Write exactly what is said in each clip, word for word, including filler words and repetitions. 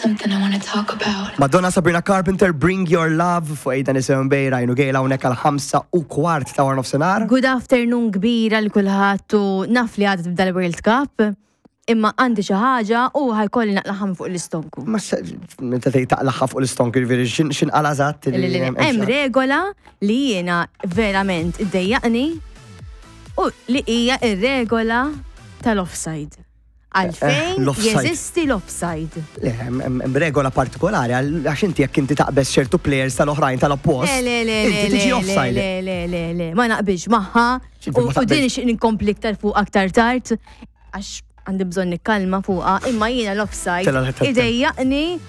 something I want to talk about. Madonna, Sabrina Carpenter, "Bring Your Love" fuq Aidan Isem Bay, Rajnu Gejla hawnhekk għal ħamsa u kwart ta' wara nofsinhar. Good afternoon kbira lil kulħadd u naf li għadha tibda l-World Cup, imma għandi xi ħaġa u ħa jkolli naqlagħha fuq l-istonku. Ma se- meta tgħid taqlagħha fuq l-istonk, jiġifieri x'in x'inqala eżatt? Li- li- li- Hemm regola li jiena verament iddejjaqni u li hija ir-regola tal-offside. Għalfejn Eh, l-offside. jeżisti l-offside? Le, hemm hemm regola partikolari għal- għax inti jekk inti taqbeż ċertu players tal-oħrajn tal-oppost, Le, le, le, inti le, tiġi le, offside. le, le, le, le, ma naqbilx magħha X'inti u ma u din taqbilx? ix inkompli iktar fuq aktar tard għax għandi bżonn nikkalma fuqha, imma jiena l-offside Tela- tela- idejjaqni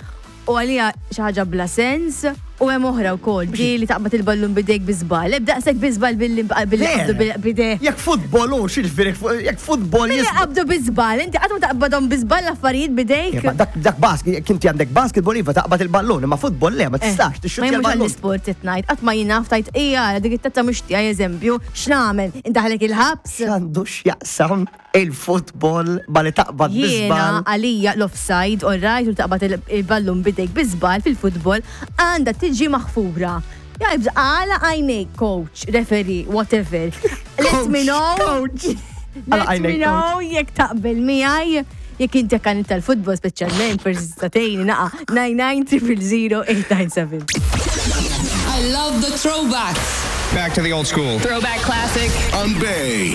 u għalija xi ħaġa bla sens u hemm oħra wkoll di li taqbad il-ballun bidejk bi żball. Ebda daqshekk bi żball billi billi Le. qabdu bidejk. Jekk futbol u x'jiġifieri jekk futbol Billi jis- qabdu bi żball, inti qatt ma taqbadhom bi żball l-affarijiet bidejk. Ma Dak dak basket, jekk inti għandek basketball iva taqbad il-ballun, imma futbol le, ma tistax Eh, Ma tixxuttja jemux l-ballun. għall-sport qed ngħid, qatt ma jien naf tajt ija dik it-tazza mhux tiegħi, eżempju, x'nagħmel? Indaħlek il-ħabs? X'għandu x'jaqsam il-futbol ma li taqbad Jiena bi żball? għalija l-offside, all right, u taqbad il- il-ballun bidejk bi żball fil-futbol għandha tiġi maħfura. Jgħib għala għajnejk, coach, referee, whatever. Let me know. Coach. Għala Let me għajnejk, know jekk taqbel miegħi. Jekk inti kan tal-futbol speċjalment, forsi statejni naqa nine nine zero zero eight nine seven. I love the throwbacks. Back to the old school. Throwback classic. On Bay.